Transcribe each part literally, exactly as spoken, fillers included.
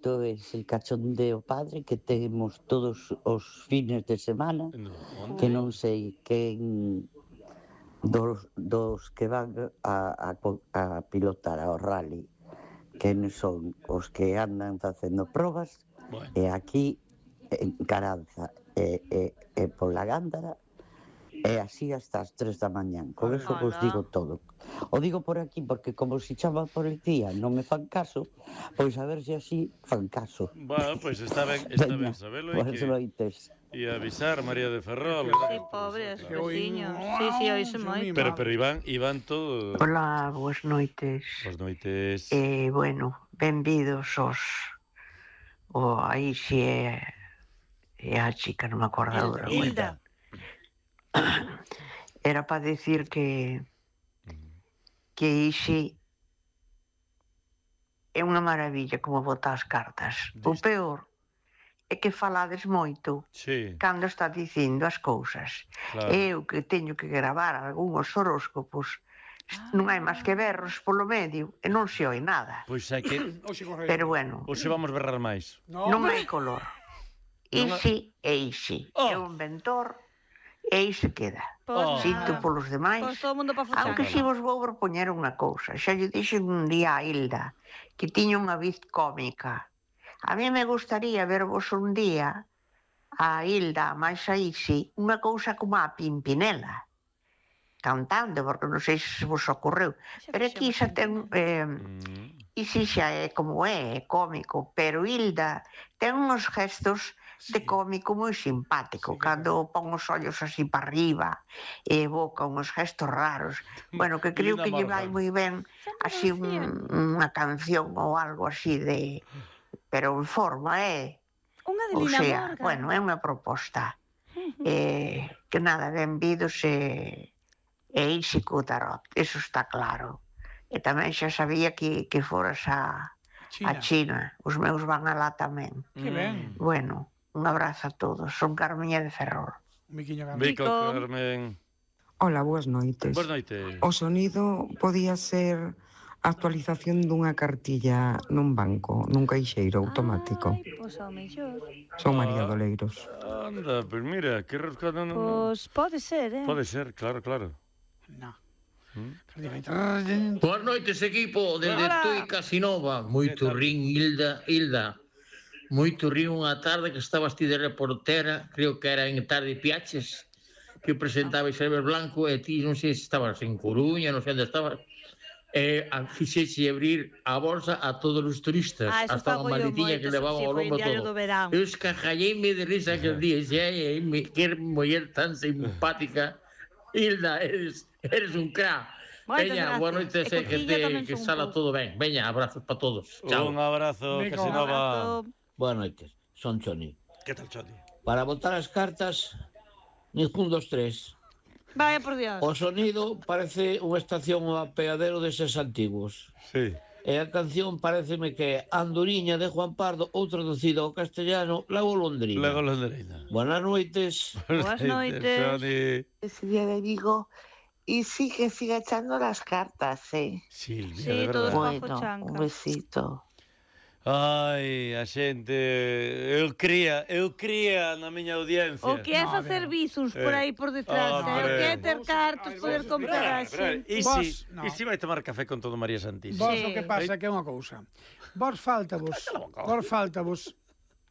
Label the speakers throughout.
Speaker 1: isto é el cachondeo padre que temos todos os fines de semana, que non sei quen dos, dos que van a, a, a pilotar ao rally, quen son os que andan facendo probas, bueno. E aquí en Caranza e, e, e pola Gándara, e así hasta as tres da mañán. Con eso vos digo todo. O digo por aquí porque como se chama por el día non me fan caso, pois a ver se así fan caso.
Speaker 2: Bueno, pois está ben, está ben sabelo e que
Speaker 1: noites.
Speaker 2: E avisar María de Ferrol.
Speaker 3: Sí, pobre, os veciños. Sí, sí, oíse moito.
Speaker 2: Pero pero Iván, Iván todo.
Speaker 4: Hola, boas noites.
Speaker 2: Boas noites.
Speaker 4: Eh, bueno, benvidos os o aí si é é a chica, non me acordo agora.
Speaker 3: Hilda.
Speaker 4: Era para decir que que ixe é unha maravilla como bota as cartas. O peor é que falades moito
Speaker 2: sí.
Speaker 4: Cando está dicindo as cousas. Claro. Eu que teño que gravar algúns horóscopos, ah. Non hai máis que berros polo medio e non se oi nada.
Speaker 2: Pois é que...
Speaker 4: Pero bueno...
Speaker 2: Hoxe vamos berrar máis.
Speaker 4: No. Non hai color. Isi e isi. Oh. É un ventor... E aí se queda. Oh. Sinto polos demais.
Speaker 3: Pois todo mundo pa fuchar.
Speaker 4: Aunque si vos vou propoñer unha cousa. Xa lle dixen un día a Hilda que tiña unha viz cómica. A mí me gustaría vervos un día a Hilda, máis a Isi, unha cousa como a Pimpinela. Cantando, porque non sei se vos ocorreu. Pero aquí xa ten... Eh, Isi xa é como é, é cómico. Pero Hilda ten uns gestos... de cómico moi simpático, sí, cando pon os ollos así para arriba e boca uns gestos raros. Bueno, que creo que lle vai moi ben así un, unha canción ou algo así de... Pero en forma, é...
Speaker 3: Unha de
Speaker 4: Lina
Speaker 3: Morgan.
Speaker 4: Bueno, é unha proposta. eh, que nada, benvidos e... e isi co tarot, eso está claro. E tamén xa sabía que, que foras a... China. A China. Os meus van alá tamén.
Speaker 5: Que ben.
Speaker 4: Bueno... Un abrazo a todos. Son Carmeña de Ferrol.
Speaker 5: Miquiño Carmen.
Speaker 2: Mico, Carmen.
Speaker 6: Hola, boas noites.
Speaker 2: Boas noites.
Speaker 6: O sonido podía ser a actualización dunha cartilla nun banco, nun caixeiro automático.
Speaker 3: Ai, pois ao mellor.
Speaker 6: Son María Doleiros.
Speaker 2: Anda, pois mira, que rascado non...
Speaker 3: Pois pode ser, eh?
Speaker 2: Pode ser, claro, claro.
Speaker 5: No.
Speaker 7: ¿Mm? Boas noites, equipo, desde Tui Casinova. Moito rin, Hilda, Hilda. Moito río unha tarde que estabas ti de reportera, creo que era en Tarde Piaches, que presentaba Isabel Blanco, e ti non sei se estabas en Coruña, non sei onde estabas, e fixeche abrir a bolsa a todos os turistas,
Speaker 3: ah,
Speaker 7: hasta a maletiña que levaban ao lombo todo. Eu escajalleime de risa aquel día, e xe, que muller tan simpática. Hilda, eres, eres un crack. Veña, boa noite, e que, te, que sala todo ben. Veña, abrazos para todos. Chao.
Speaker 2: Un abrazo, Casinova.
Speaker 8: Boas noites, son Choni.
Speaker 2: Que tal, Choni?
Speaker 8: Para botar as cartas, ningún dos tres.
Speaker 3: Vaya por Dios.
Speaker 8: O sonido parece unha estación ou apeadero deses antigos.
Speaker 2: Sí.
Speaker 8: E a canción pareceme que é Andoriña de Juan Pardo ou traducido ao castellano La Golondrina.
Speaker 2: La Golondrina.
Speaker 8: Buenas noites.
Speaker 3: Boas noites.
Speaker 2: Choni.
Speaker 9: Ese día de Vigo y sí que sigue echando las cartas, ¿eh?
Speaker 2: Silvia,
Speaker 3: sí,
Speaker 2: de verdade.
Speaker 9: Bueno, un besito.
Speaker 2: Ai, a xente, eu cría, eu cría na miña audiencia.
Speaker 3: O que é facer bizos por aí por detrás, eh? O que é ter cartos, poder comprar a xente.
Speaker 2: E si, no. e si vai tomar café con todo María Santísima?
Speaker 5: Vos o que pasa que é unha cousa. Vos faltavos, vos faltavos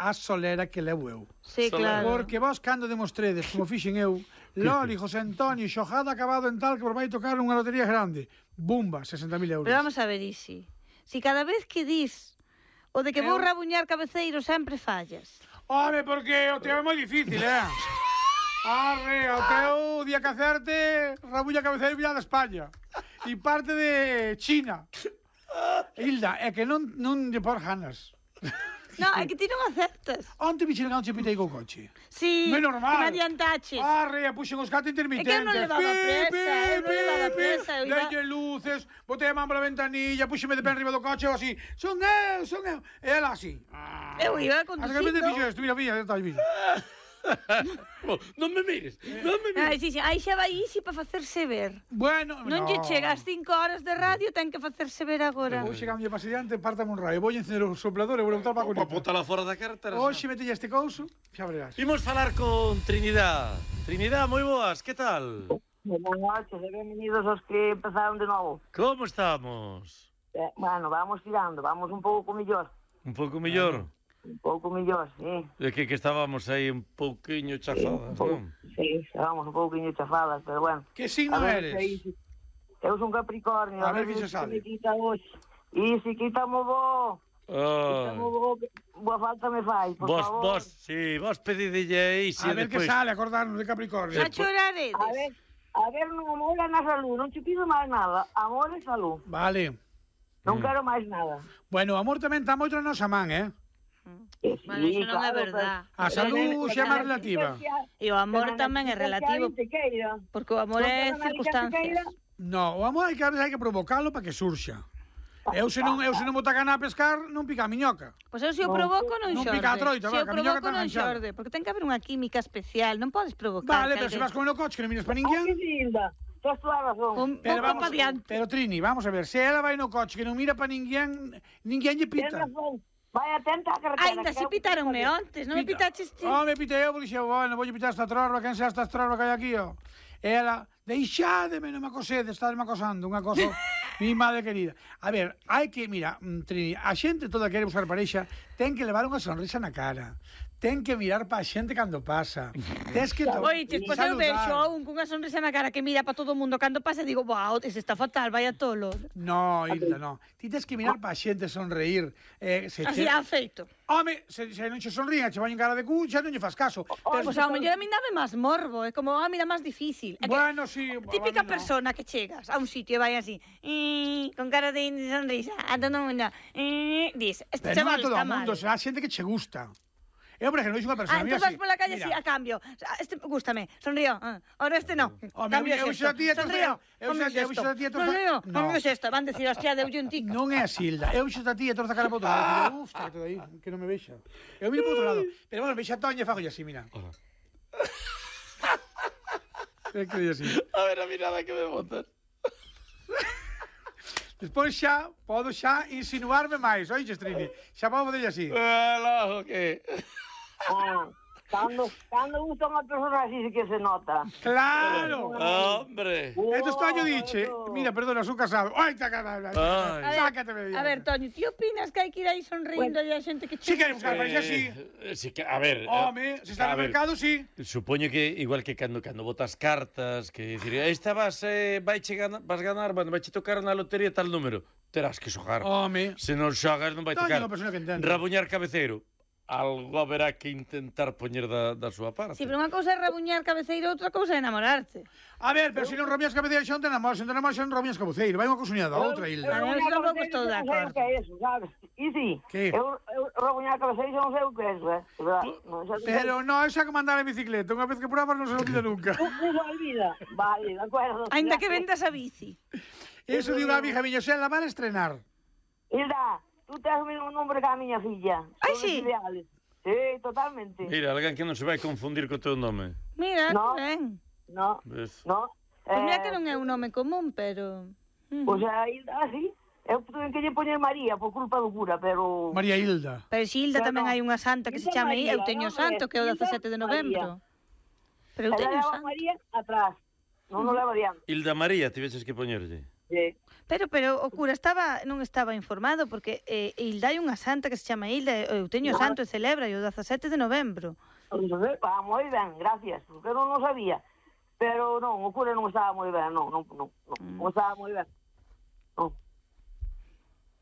Speaker 5: a solera que levo eu.
Speaker 3: Sí, claro.
Speaker 5: Porque vos cando demostredes, como fixen eu, Loli, José Antonio, xojada acabado en tal que vos vai tocar unha lotería grande. Bumba, sesenta mil euros.
Speaker 3: Pero vamos a ver, Isi. Si cada vez que dis o de que vou rabuñar cabeceiro sempre fallas.
Speaker 5: Home, porque o teu é moi difícil, eh? Arre, o teu día que acerte rabuña cabeceiro vía de España. E parte de China. Hilda, é que non, non lle por ganas.
Speaker 3: No, é que ti non acertas.
Speaker 5: Onte me chingan che pitei co coche.
Speaker 3: Sí,
Speaker 5: non é normal.
Speaker 3: Que me adiantaches.
Speaker 5: Arre, puxen os gatos intermitentes.
Speaker 3: É que eu non levaba presa, eu non levaba presa. Eu iba...
Speaker 5: Delle luces, botei a man pola ventanilla, puxeme de pé enriba do coche, ou así. Son eu, son eu. E ela así.
Speaker 3: Eu iba conducindo.
Speaker 5: As que me fixo isto, mira, mira, está aí, mira.
Speaker 2: Non me mires, non me mires.
Speaker 3: Ai, sí, sí, aí xa vai Isi para facerse ver.
Speaker 5: Bueno,
Speaker 3: Non lle chega as cinco horas de radio, ten que facerse ver agora.
Speaker 5: Vou chegando para adiante, partame un raio. Vou encender o soplador e vou botar para a
Speaker 2: Pa
Speaker 5: conecta.
Speaker 2: botala fora da cartera.
Speaker 5: Hoxe metelle este couso, xa verás.
Speaker 2: Imos falar con Trinidad. Trinidad, moi boas, que tal?
Speaker 10: Buenas noches e benvenidos aos que empezaron de novo.
Speaker 2: Como estamos?
Speaker 10: Eh, bueno, vamos tirando, vamos un pouco millor.
Speaker 2: Un pouco mellor?
Speaker 10: Un pouco millor, sí.
Speaker 2: É que, que estábamos aí un pouquiño chafadas,
Speaker 10: sí,
Speaker 2: non?
Speaker 10: Sí, estábamos un pouquiño chafadas, pero bueno.
Speaker 5: Que signo eres?
Speaker 10: Aí, eu son Capricornio.
Speaker 5: A ver que se sabe.
Speaker 10: Me quita hoxe. E se quitamos bo...
Speaker 2: Ah.
Speaker 10: Quitamos bo... Boa falta me fai, por
Speaker 2: Vos,
Speaker 10: favor.
Speaker 2: vos, sí, vos pedidelle aí, si
Speaker 5: A ver que
Speaker 2: despois...
Speaker 5: sale, acordarnos de Capricornio.
Speaker 3: A choraredes.
Speaker 10: A ver, a ver, non amor na salud, non te pido máis nada. Amor e salud.
Speaker 5: Vale.
Speaker 10: Non quero máis nada.
Speaker 5: Bueno, o amor tamén está moito na nosa man, eh?
Speaker 10: Que sí,
Speaker 3: Bueno, iso non é
Speaker 10: claro,
Speaker 3: verdad.
Speaker 5: A salud xa é máis relativa.
Speaker 3: E o amor tamén é relativo, porque o amor é circunstancias.
Speaker 5: No, o amor hai que, hai que provocalo para que surxa. Eu se non, eu se non botar gana a pescar, non pica a miñoca.
Speaker 3: Pois eu se o provoco non
Speaker 5: Non
Speaker 3: xorde.
Speaker 5: pica a troita,
Speaker 3: Se
Speaker 5: va,
Speaker 3: o
Speaker 5: que a miñoca
Speaker 3: provoco
Speaker 5: está
Speaker 3: non
Speaker 5: enganchada.
Speaker 3: xorde, porque ten que haber unha química especial, non podes provocar.
Speaker 5: Vale, pero
Speaker 3: que
Speaker 5: se vas con o coche que non miras para
Speaker 10: Ah,
Speaker 5: ninguén...
Speaker 10: que linda. Tens toda a razón.
Speaker 3: Un
Speaker 5: Pero
Speaker 3: pouco
Speaker 5: vamos,
Speaker 3: pa diante.
Speaker 5: pero Trini, vamos a ver, se ela vai no coche que non mira para ninguén, ninguén lle
Speaker 10: Tens
Speaker 5: pita.
Speaker 10: razón. Vai atenta á carretera.
Speaker 3: Ainda se pitaronme ontes, non me pitaches ti?
Speaker 5: Oh, me pitei eu porque xe, bueno, vou pitar esta trorba, quen sea esta trorba que hai aquí, ó. E ela, deixádeme, non me acosedes, estádeme acosando, unha cosa, mi madre querida. A ver, hai que, mira, mm, Trini, a xente toda que quere buscar parexa, ten que levar unha sonrisa na cara. Ten que mirar pa xente cando pasa. Tens que to-
Speaker 3: Oiches, pois eu vexo a un cunha sonrisa na cara que mira para todo o mundo cando pasa e digo, wow, ese está fatal, vaya tolo.
Speaker 5: No, Hilda, no. Ti tens que mirar pa xente, sonreír. Eh, se
Speaker 3: Así
Speaker 5: che...
Speaker 3: ha feito.
Speaker 5: Home, se, se non che sonrían, che vai en cara de cu, xa non lle fas caso. Tes-
Speaker 3: Pois ao mellor a min dame máis morbo, é como, ah, mira, máis difícil. É que
Speaker 5: Bueno, sí.
Speaker 3: típica
Speaker 5: a mí no.
Speaker 3: persona que chegas a un sitio e vai así, "Mm", con cara de sonrisa, a todo mundo, "Mm", dis, este
Speaker 5: Pero non
Speaker 3: chaval
Speaker 5: a todo
Speaker 3: está
Speaker 5: o mundo,
Speaker 3: mal.
Speaker 5: será xente que che gusta. Eu, por ejemplo, dixo unha persona,
Speaker 3: Ah,
Speaker 5: mira
Speaker 3: entón vas
Speaker 5: así,
Speaker 3: pola calle
Speaker 5: mira,
Speaker 3: así, a cambio. Este gústame, sonrío. Ah, ahora este no.
Speaker 5: Home,
Speaker 3: Cambio
Speaker 5: eu
Speaker 3: xesto.
Speaker 5: xa ti e tu-
Speaker 3: Sonrío.
Speaker 5: eu
Speaker 3: Cambio
Speaker 5: xa- eu
Speaker 3: xesto.
Speaker 5: xa ti e tu-
Speaker 3: Sonrío.
Speaker 5: No.
Speaker 3: Cambio xesto. Van decir, hostia, deulle un tic.
Speaker 5: non é así, Hilda. Eu xo a ti e torza a cara para outro lado. Uf, está todo aí, que non me vexa. Eu miro para outro lado. Pero bueno, vexa a Toña e fago así, mira. É que así.
Speaker 2: A ver a mirada que me botas.
Speaker 5: Despois xa, podo xa insinuarme máis, oiches, Trini? Xa podo fazer así.
Speaker 2: Ela, o que?
Speaker 10: Ah, cando, cando gusta unha persona así sí que se nota.
Speaker 5: Claro!
Speaker 2: Hombre.
Speaker 5: Esto está yo diche. Mira, perdona, son casado. Ai, está casado.
Speaker 2: Ai.
Speaker 5: Sácateme.
Speaker 3: A ver, Toño, ti opinas que hai que ir aí sonrindo e a xente que
Speaker 5: Si
Speaker 3: chega?
Speaker 5: queremos buscar parexa, sí.
Speaker 2: Eh, sí que, a ver...
Speaker 5: Home, se está
Speaker 2: a
Speaker 5: no
Speaker 2: ver,
Speaker 5: mercado, sí.
Speaker 2: Supoño que igual que cando cando botas cartas, que dicir, esta vas eh, vai che ganar, vas ganar, bueno, vai che tocar na lotería tal número, terás que xogar.
Speaker 5: Home.
Speaker 2: Se non xogas non vai
Speaker 5: Toño é
Speaker 2: tocar.
Speaker 5: unha persona que entende.
Speaker 2: Rabuñar cabeceiro. Algo haberá que intentar poñer da, da súa parte.
Speaker 3: Si, pero unha cousa é rabuñar cabeceiro, outra cousa é enamorarte.
Speaker 5: A ver, pero se non romías cabeceiro xa non te enamoras, se non te enamoras xa non romías cabeceiro. Vai unha cousa unida da outra, Hilda.
Speaker 3: Eu
Speaker 10: Rabuñar
Speaker 3: tampouco
Speaker 10: cabeceiro,
Speaker 3: estou de
Speaker 10: eu non sei
Speaker 3: acordo.
Speaker 10: o que é eso, sabes? E si,
Speaker 5: Que?
Speaker 10: eu, eu rabuñar cabeceiro non sei o que é eso, eh? De verdad, non sei o que é.
Speaker 5: Pero no, esa que mandar en bicicleta. Unha vez que probas non se lo olvida nunca.
Speaker 10: Non se olvida. Vale, de acuerdo.
Speaker 3: Ainda que
Speaker 10: Gracias.
Speaker 3: vendas a bici.
Speaker 5: Eso de unha amiga miña, xa la van a estrenar.
Speaker 10: Hilda, tú tens o mesmo nombre que a miña filla.
Speaker 3: Ai,
Speaker 10: Somos
Speaker 3: sí?
Speaker 10: ideales. Sí, totalmente.
Speaker 2: Mira, alguén que non se vai confundir co teu nome.
Speaker 3: Mira,
Speaker 10: No.
Speaker 3: ben.
Speaker 10: No,
Speaker 2: Ves?
Speaker 10: no.
Speaker 3: Pois mira
Speaker 10: Eh,
Speaker 3: que non é un nome común, pero... Mm.
Speaker 10: Pois a Hilda, así. Eu tuve que lle poñer María por culpa do cura, pero...
Speaker 5: María Hilda.
Speaker 3: Pero si Hilda
Speaker 10: Pero
Speaker 3: tamén
Speaker 10: no.
Speaker 3: hai unha santa que se
Speaker 10: Hilda
Speaker 3: chama
Speaker 10: María,
Speaker 3: Eu teño
Speaker 10: non,
Speaker 3: santo, que é o
Speaker 10: Hilda
Speaker 3: dezasete de novembro. Pero eu
Speaker 10: Ela
Speaker 3: teño
Speaker 10: leva
Speaker 3: santo.
Speaker 10: María atrás. Non nos leva diante.
Speaker 2: Hilda María, tiveches que poñerlle.
Speaker 10: Sí.
Speaker 3: Pero, pero o cura estaba, non estaba informado, porque eh, Hilda hai unha santa que se chama Hilda, e eu teño
Speaker 10: No.
Speaker 3: santo e celebra, e o dezasete de novembro.
Speaker 10: Entonces, ah, moi ben, gracias, porque eu non o sabía. Pero non, o cura non estaba moi ben, non, non, non, non, non estaba moi ben. Non,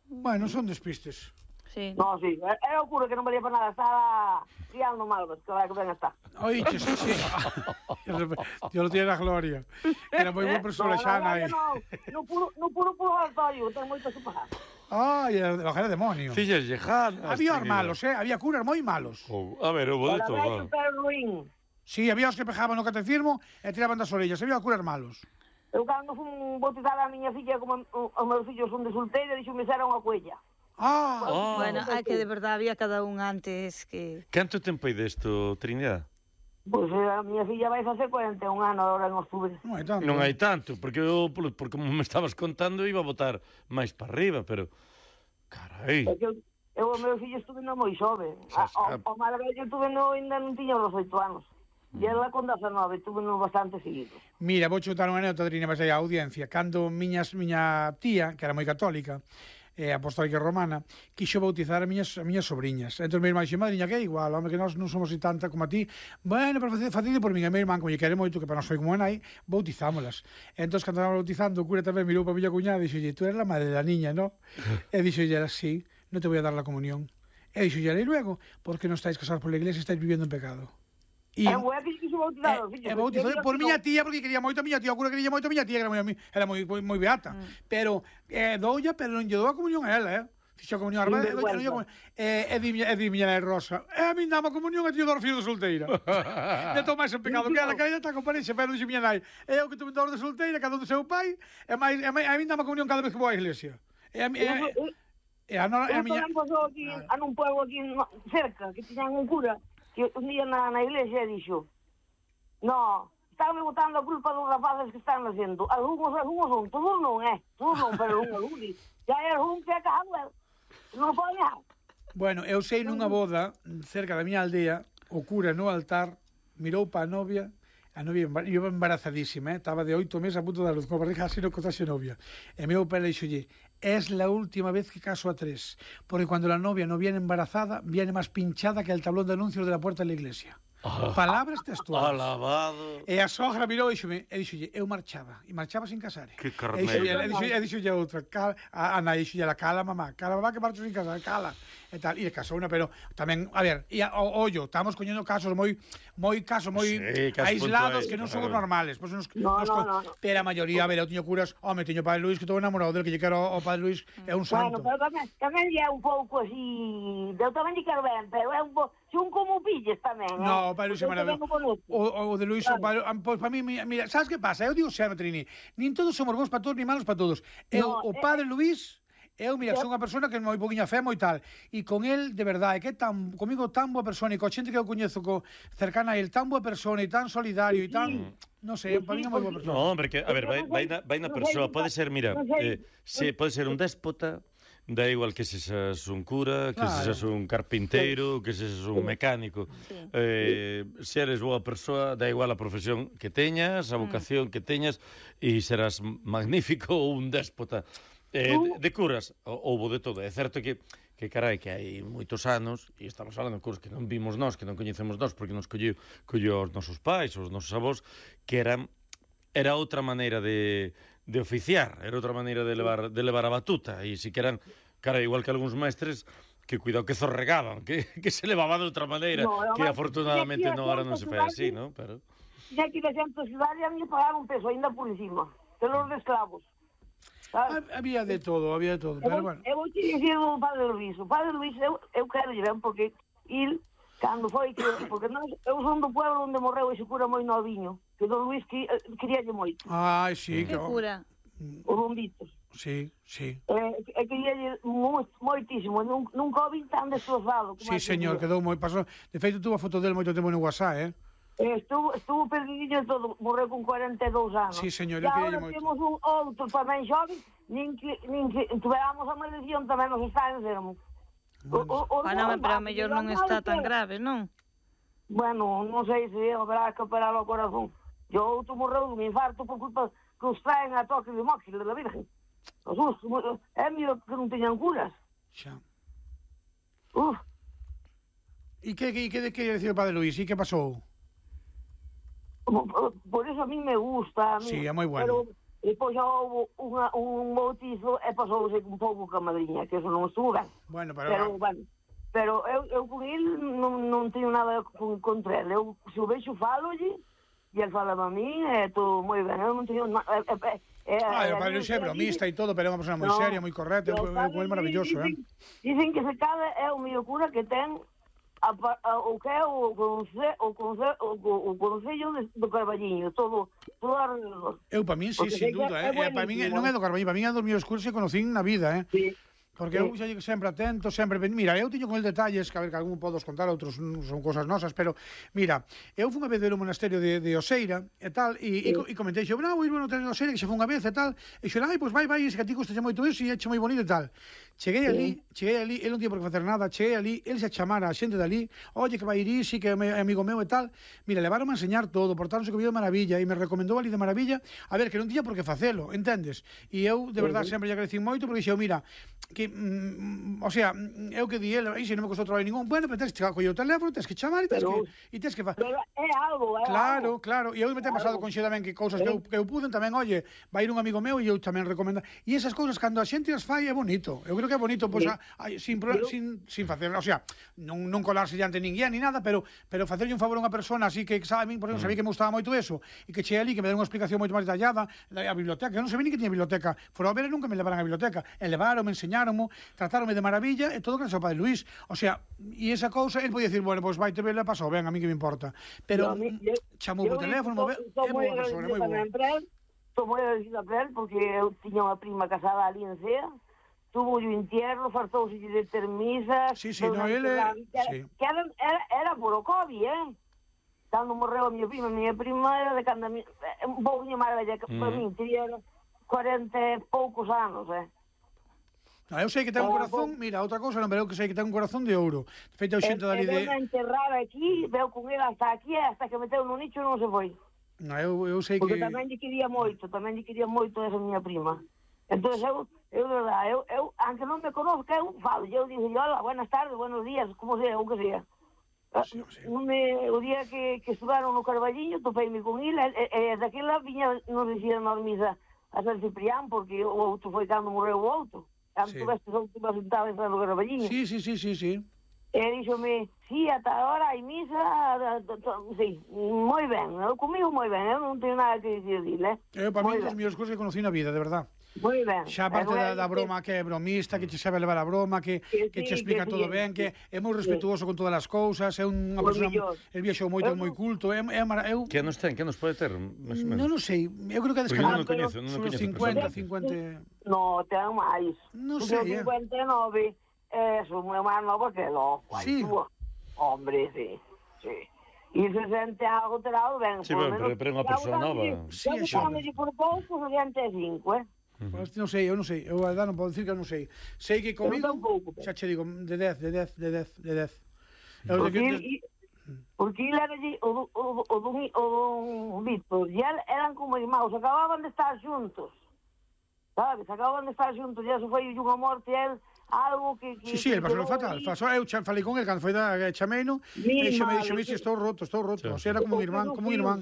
Speaker 5: Bueno, son despistes.
Speaker 3: Sí.
Speaker 10: non, sí, era o cura que non valía para nada, estaba criando malvas, que vai que ben está.
Speaker 5: Oiches, sí. Dios lo tiene la gloria. Era moi boa persona xa, nai.
Speaker 10: Non, non puro, non puro purgatorio, ten moito que pagar.
Speaker 5: Ai, el era demonio.
Speaker 2: Fillas lejanas.
Speaker 5: Había os
Speaker 2: Trinidad.
Speaker 5: malos, eh? Había curas moi malos.
Speaker 2: Oh, a ver, houve de
Speaker 10: Para
Speaker 2: todo.
Speaker 10: ver pero ruín.
Speaker 5: Sí, había os que pejaban no catecismo e tiraban das orellas. Había curas malos.
Speaker 10: Eu cando fun bautizar a miña filla, como os meus fillos son de solteira, dixo me era unha cuella.
Speaker 5: Ah,
Speaker 2: Oh.
Speaker 3: Bueno, hai que de verdade había cada un antes que...
Speaker 2: Canto tempo hai desto, Trinidad?
Speaker 10: Pois a miña filla vai facer cuarenta e un anos agora en outubro.
Speaker 5: Non hai tanto.
Speaker 2: Non hai tanto, porque eu, por, por como me estabas contando, iba a botar máis para arriba, pero... Carai.
Speaker 10: Porque eu, eu o meu fillo estuve no moi xove. O, o máis vello estuve no, ainda non tiña os oito anos. E ela con dezanove, estuve no bastante seguido.
Speaker 5: Mira, vou chutar unha anécdota, Trine, vas aí a audiencia. Cando miñas, miña tía, que era moi católica, eh, apostólica romana, quixo bautizar a miñas, a miñas sobriñas. Entón, mi irmán dixe, madriña, que é igual, home, que nós non somos así tanta como a ti. Bueno, pero facide por min, a mi irmán, como lle quere moito, que para nós foi como a nai, bautizámolas. Entón, cando estaba bautizando, o cura tamén mirou para a miña cuñada e dixo, tú eres la madre da niña, ¿no? E dixo, ella, sí, no te voy a dar la comunión. E dixo, e luego, porque non estáis casados por la iglesia, estáis viviendo en pecado.
Speaker 10: E é moi que quixo bautizar os fillos.
Speaker 5: E bautizou por miña tía, porque quería moito a miña tía, o cura quería moito a miña tía, que era moi, era moi, moi beata. Pero, eh, doulla, pero non lle dou a comunión a ela, eh? Fixo a comunión a ela, e di miña nai Rosa, e a min dama comunión e tío dor filho de solteira. E toma ese pecado, que ela que ela está con parexa, pero dixe miña nai, e eu que tuve dor de solteira, cada un do seu pai, e máis, a min dama comunión cada vez que vou á iglesia. E a miña...
Speaker 10: E a miña... Eu pasou aquí, a nun pueblo aquí cerca, que tiñan un cura, que un día na, na iglesia dixo, no, están botando a culpa dos rapaces que están nacendo. Algunos, algunos son, todos non, eh, todos non, pero un, algún, ya é un que é casado, eh, non pode nada.
Speaker 5: Bueno, eu sei nunha boda, cerca da miña aldea, o cura no altar mirou pa a novia, a novia iba embarazadísima, eh? Estaba de oito meses a punto da luz, con a barriga así no contase novia. E mirou pa ela e dixolle, es la última vez que caso a tres, porque cuando la novia no viene embarazada, viene más pinchada que el tablón de anuncios de la puerta de la iglesia. Oh, palabras textuales.
Speaker 2: Alabado.
Speaker 5: E a sogra mirou e dixome, e dixolle, eu marchaba, e marchaba sin casar.
Speaker 2: Que carneiro.
Speaker 5: E dixolle a outra, a, a nai, dixolle, la cala, mamá, cala, mamá, que marcho sin casar, cala. E tal, e casou unha, pero tamén, a ver, e a, o, ollo, estamos coñendo casos moi, moi casos moi sí, aislados que non son os normales. Pues nos,
Speaker 10: no,
Speaker 5: nos,
Speaker 10: no, no, no.
Speaker 5: Pero a maioría, a ver, eu tiño curas, home, tiño Padre Luis, que estou enamorado del, que lle quero o Padre Luis, é un santo.
Speaker 10: Bueno, pero tamén, tamén é un pouco así, eu tamén lle quero ben, pero é un pouco, son como pilles tamén, eh?
Speaker 5: No, o Padre Luis é maravilloso. O, o de Luis, claro. o, pois para mí, mira, sabes que pasa? Eu digo sempre, Trini, nin todos somos bons para todos, ni malos para todos. Eu, no, o Padre eh, Luis, eu, mira, eu... son unha persona que é moi poquinha fe, moi tal, e con el, de verdade, que é tan, comigo tan boa persona, e coa xente que eu coñezo co, cercana a el, tan boa persona, e tan solidario, e tan... Sí. Non sei, para mí é moi boa persona.
Speaker 2: No, hombre, que, a ver, vai, vai, na, vai na persoa, pode ser, mira, eh, se, pode ser un déspota, da igual que se seas un cura, que claro. se seas un carpinteiro, que se seas un mecánico. Sí. Eh, se eres boa persoa, da igual a profesión que teñas, a vocación que teñas, e serás magnífico ou un déspota. Eh, de, de curas, houbo de todo. É certo que, que carai, que hai moitos anos, e estamos falando de curas que non vimos nós, que non coñecemos nós, porque nos colleu, colleu os nosos pais, os nosos avós, que eran, era outra maneira de... de oficiar, era outra maneira de levar, de levar a batuta, e si que eran, cara, igual que algúns mestres, que cuidado que zorregaban, que, que se levaba de outra maneira, no, que no, afortunadamente no, ahora non se fai así, ¿no? Pero...
Speaker 10: Ya que de xente cidade a mí pagaban un peso ainda por encima, pelos de esclavos.
Speaker 5: ¿Sabes? Había de todo, había de todo, pero bueno.
Speaker 10: Eu vou te dicir o Padre Luis, o Padre Luis, eu, eu quero lle ben, porque il, cando foi que, porque non, eu son do pueblo onde morreu ese cura moi noviño, que don Luis que, queríalle moito.
Speaker 5: Ai, sí,
Speaker 3: que cura?
Speaker 10: O Rombitos.
Speaker 5: Sí, sí.
Speaker 10: Eh, e queríalle moitísimo, nun, nunca o vi tan destrozado.
Speaker 5: Sí, señor, quedou moi pasado. De feito, tuvo a foto del moito tempo no WhatsApp, eh?
Speaker 10: Eh, estuvo, estuvo perdidinho todo, morreu con cuarenta e dous anos.
Speaker 5: Sí, señor,
Speaker 10: eu queríalle moito. E agora temos un outro tamén xove, nin que, nin que tuveramos a maldición tamén nos está enfermo.
Speaker 3: O, o, o, ah, non, pero a mellor non está tan grave, non?
Speaker 10: Bueno, non sei se habrá que operar o corazón. Yo outro morreu dun infarto por culpa que os traen a toque de móxil de la Virgen. Os us, é mío que non teñan curas.
Speaker 5: Xa.
Speaker 10: Uf.
Speaker 5: E que, que, que, que decir o Padre Luis? E que pasou?
Speaker 10: Por, por eso a mí me gusta. A mí,
Speaker 5: sí, é moi bueno.
Speaker 10: Pero depois xa houve unha, un bautizo e pasouse un pouco ca madriña, que eso non estuvo ben.
Speaker 5: Bueno, pero...
Speaker 10: Pero, bueno, pero eu, eu con ele non, non teño nada con, contra ele. Eu, se o vexo, falolle, e ele fala a mí, é todo moi ben. Eu non teño... Eh, eh, eh,
Speaker 5: ah, o Padre Luis é bromista e todo, pero é unha persona moi no, seria, moi correcta, é moi maravilloso,
Speaker 10: dicen,
Speaker 5: eh?
Speaker 10: Dicen que se cada é o mellor cura que ten a, a, o que é o concello o conce, o, o, o concello do Carballiño, todo, todo alrededor.
Speaker 5: Eu, para min, sí, sin duda, eh? Para min non é do Carballiño, para min é dos mellores curas que conocín na vida, eh?
Speaker 10: Sí.
Speaker 5: Porque eu xa digo sempre atento, sempre... Mira, eu tiño con el detalles, que a ver, que algún podos contar, outros son cosas nosas, pero, mira, eu fui unha vez ver o monasterio de, de Oseira, e tal, e, sí. e, e comentei, xo, no, vou ir ao monasterio de Oseira, que xa foi unha vez, e tal, e xo, ai, pois vai, vai, ese que a ti custa moito eso, e é moi bonito e tal. Cheguei sí. ali, cheguei ali, ele non tiña por que facer nada, cheguei ali, ele se chamara a xente dali, oye, que vai ir isi, que é amigo meu e tal, mira, levaron a enseñar todo, portáronse comigo de maravilla, e me recomendou ali de maravilla, a ver, que non tiña por que facelo, entendes? E eu, de verdade, sempre lle agradecí moito, porque xo, mira, que... Mm, o sea, eu que di ele, aí se non me costou traballo ningún, bueno, pero tens que coller o teléfono, tens que chamar e tens
Speaker 10: pero,
Speaker 5: que e tens que facer.
Speaker 10: Pero é algo, é
Speaker 5: claro,
Speaker 10: algo.
Speaker 5: Claro, e eu me ten pasado con xe tamén que cousas que eu, que eu puden tamén, oye, vai ir un amigo meu e eu tamén recomendo. E esas cousas cando a xente as fai é bonito. Eu creo que é bonito, pois, pues, sin, pro, sin, sin facer, o sea, non, non colarse diante ninguén ni nada, pero pero facerlle un favor a unha persona así que sabe, por exemplo, sabía que me gustaba moito eso, e que che ali, que me deu unha explicación moito máis detallada, a biblioteca, eu non sabía ni que tiña biblioteca, fora a ver e nunca me levaran a biblioteca, e levaron, me enseñaron, trataronme de maravilla, e todo gracias ao Padre Luís. O sea, e esa cousa, ele podía dicir, bueno, pois vai te ver, pasou, ben, a mí que me importa. Pero chamou por teléfono, é boa persona, é moi boa.
Speaker 10: Estou moi agradecida para él, porque eu tiña unha prima casada ali en Cea, tuvo o entierro, fartouse de ter misas...
Speaker 5: Sí, sí, no, ele...
Speaker 10: Que era, era, era por o COVID, eh? Cando morreu a miña prima, a miña prima era de cando... Un pouquinho máis velha que para mí, teria cuarenta e poucos anos, eh?
Speaker 5: No, eu sei que ten un corazón, mira, outra cousa non, pero eu que sei que ten un corazón de ouro. De feito, eu xente dali de...
Speaker 10: E enterrar aquí, veu con ele hasta aquí, hasta que meteu no nicho e non se foi.
Speaker 5: No, eu, eu sei
Speaker 10: Porque
Speaker 5: que...
Speaker 10: Porque tamén lle quería moito, tamén lle quería moito esa miña prima. Entón, eu, eu, verdad, eu, eu, aunque non me conozca, eu falo, eu digo, hola, buenas tardes, buenos días, como sea, o que sea. Sí, sí. Me, o día que, que estudaron no Carballiño, topeime con ele, e, e daquela viña, non dicía na misa a San Ciprián, porque o outro foi cando morreu o outro. Cando sí. Tuveste o último sentado en San Carballiño.
Speaker 5: Sí, sí, sí, sí, sí.
Speaker 10: E díxome, sí, ata ahora hai misa, sí, moi ben, comigo moi ben, eu non teño nada que dicir, eh?
Speaker 5: Eu, para mí, os mellores cousas que conocí na vida, de verdad.
Speaker 10: Moi ben.
Speaker 5: Xa aparte da, da broma que é bromista, que che sabe levar a broma, que, que, que sí, che explica que todo sí, ben, que é moi respetuoso sí. con todas as cousas, é unha persona, el viaxou moito, é moi culto, é, é eu...
Speaker 2: Que nos ten, que nos pode ter?
Speaker 5: Non o sei, eu creo que é descanado.
Speaker 2: Non o coñezo, non o coñezo.
Speaker 5: cincuenta, cincuenta...
Speaker 10: No, ten máis.
Speaker 5: Non sei,
Speaker 10: eh. cincuenta e nove, é, son moi máis nova que lo.
Speaker 5: Sí.
Speaker 10: Hombre, sí, sí. E se sente algo terado ben.
Speaker 2: Sí, ben, pero é unha persona nova.
Speaker 10: Sí, xa. Eu por pouco, sesenta e cinco, eh?
Speaker 5: Uh -huh. Non sei, eu non sei, eu a edad non podo dicir que eu non sei. Sei que comigo, xa che digo, de dez, de dez, de dez, de dez.
Speaker 10: Porque ele era o do Víctor, e eran como irmãos, acababan de estar juntos, sabes? Acababan de estar juntos, e eso foi unha morte, ele, algo que...
Speaker 5: Sí, sí, el pasou fatal, eu falei con ele, cando foi da chameino, e xa me dixo, me dixo, estou roto, estou roto, o sea, era como un irmán, como un irmán.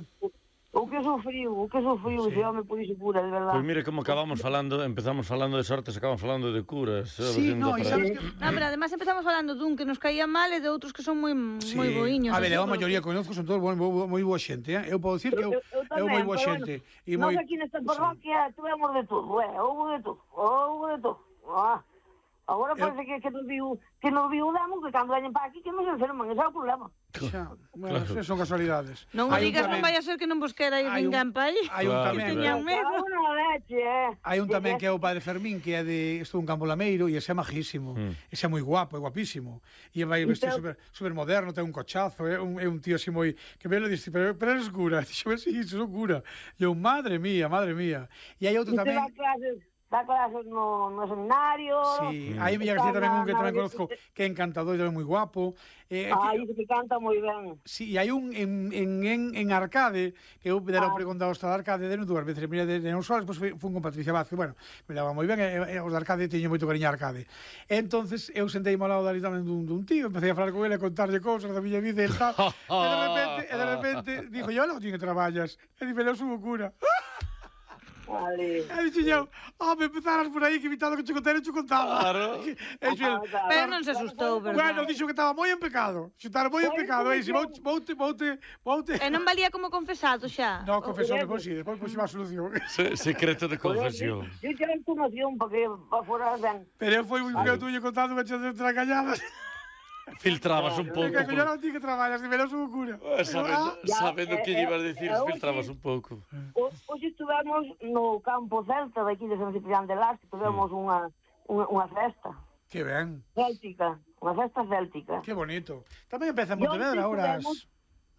Speaker 10: O que sufriu, o que sufriu, sí. Se home por iso cura, de verdade.
Speaker 2: Pois pues mire como acabamos falando, empezamos falando de sortes, acabamos falando de curas.
Speaker 5: Sí, no, e sabes que...
Speaker 3: No, pero además empezamos falando dun que nos caía mal e de outros que son moi sí. moi boiños.
Speaker 5: A ver, a maioría que conozco son todos moi, moi boa xente, eh? Eu podo dicir que eu, eu, eu moi boa xente.
Speaker 10: Bueno, nós moi... aquí nesta parroquia sí. Tuvemos de todo, eh? Houve de todo, houve de todo. Ah. Agora parece eu... que, que nos viu que nos viu damos que cando veñen para aquí que nos enferman, ese é o problema.
Speaker 5: Xa, bueno, claro. Son casualidades.
Speaker 3: Non o digas, non vai a ser que non vos quera ir ninguén para aí.
Speaker 5: Hai un tamén. Hai un tamén que é o Padre Fermín, que é de estou un Campo Lameiro e ese é majísimo. Mm. Ese é moi guapo, é guapísimo. E vai vestir super, super moderno, ten un cochazo, é un, é un tío así moi que me lo diste, pero, pero eres cura. Dixo, sí, son cura. E eu, madre mía, madre mía. E hai outro tamén...
Speaker 10: Dá clases no, no seminario.
Speaker 5: Sí, aí Villa García tamén un que tamén conozco que é encantador e tamén moi guapo.
Speaker 10: Eh, ah, que, que canta moi ben.
Speaker 5: Sí, e hai un en, en, en, en Arcade, que eu dera ah. preguntado hasta de Arcade de dúas veces, primeira de, de non solas, depois fun con Patricia Vázquez, bueno, me daba moi ben, e, e os de Arcade teño moito cariño a Arcade. E entonces eu sentei ao lado dali tamén dun, dun tío, empecé a falar con ele, a contarlle cousas da miña vida e tal, e de repente, e de repente, dixo, yo non tiño que traballas, e dime, eu subo cura.
Speaker 10: Vale.
Speaker 5: E dixo eu, oh, me empezaras por aí que invitado que che contara, che contaba.
Speaker 2: Claro.
Speaker 3: Pero non se asustou, verdad?
Speaker 5: Bueno, dixo que estaba moi en pecado. Que estaba moi en pecado. E dixo, voute, voute, voute.
Speaker 3: E non valía como confesado xa?
Speaker 5: Non, confesou, depois sí, depois puxemos a solución.
Speaker 2: Secreto de confesión.
Speaker 10: Eu tinha información para que fora ben.
Speaker 5: Pero foi moi feo tuyo contando que che tracalladas.
Speaker 2: Filtrabas un pouco.
Speaker 5: Que yo non ti que traballas, que me lo subo cura.
Speaker 2: Sabendo, sabendo que ibas a dicir, filtrabas un pouco.
Speaker 10: Hoxe estivemos no campo celta daqui de San Ciprián de Las, que tivemos unha, unha, unha festa.
Speaker 5: Que ben.
Speaker 10: Céltica, unha festa céltica.
Speaker 5: Que bonito. Tamén empeza en Pontevedra ahora.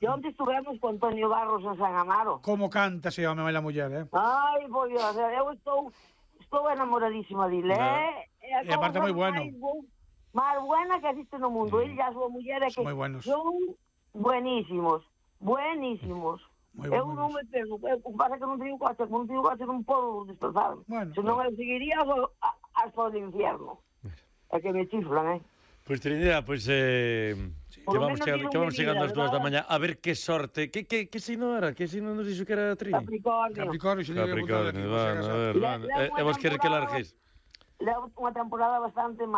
Speaker 10: E onde estivemos con Antonio Barros en San Amaro.
Speaker 5: Como canta ese home e a muller, eh?
Speaker 10: Ai, por Dios, eu estou estou enamoradísima dile, eh?
Speaker 5: E aparte moi bueno.
Speaker 10: Máis buena que existe no mundo. Ele e a súa muller é que son buenísimos, buenísimos. Eu non me pego, o que pasa é que non teño coche, como non teño coche non podo desplazarme. Senón eu seguiría hasta o infierno. É que me chiflan, eh?
Speaker 2: Pois, Trinidad, pois... Que vamos, chegando, que vamos chegando ás dúas da mañá. A ver que sorte. Que, que, que signo era? Que signo nos dixo que era Trini?
Speaker 10: Capricornio.
Speaker 5: Capricornio,
Speaker 2: Capricornio, bueno, a ver, bueno. E vos quere que largues?
Speaker 10: Levo unha temporada bastante